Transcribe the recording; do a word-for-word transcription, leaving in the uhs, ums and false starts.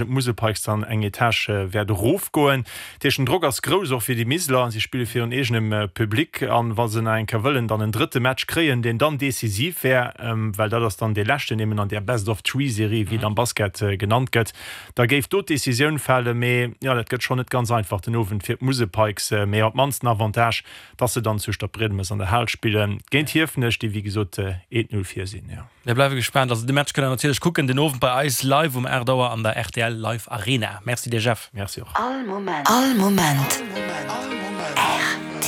d'Musel Pikes dann eng Etage wäert erofgoen. Dat heescht, den Drock ass grouss, och fir déi Miseler. Si spille virun eegenem Public an wa se nach eng Kéier wëllen dann en drëtte Match kréien, deen dann decisiv wär, well dat ass dann dee leschten eben an där Best-of-Three-Serie, wéi et am Basket genannt gëtt, da géif do d'Decisioun falen. Mee jo, dat gëtt schonn net ganz einfach den Owend fir d'Musel Pikes, mee op d'mannst en Avantage, dass se dann zu Stadbriedemes an der Hal spille géint Hiefenech, déi wéi gesot eent Null vir sinn. Mir bleiwe gespaant. Also de Match kënnt der natierlech kucken den Owend bei eis live um aacht Auer an der rtl Live Arena. Merci dir Jeff. Merci och. All Moment. All Moment.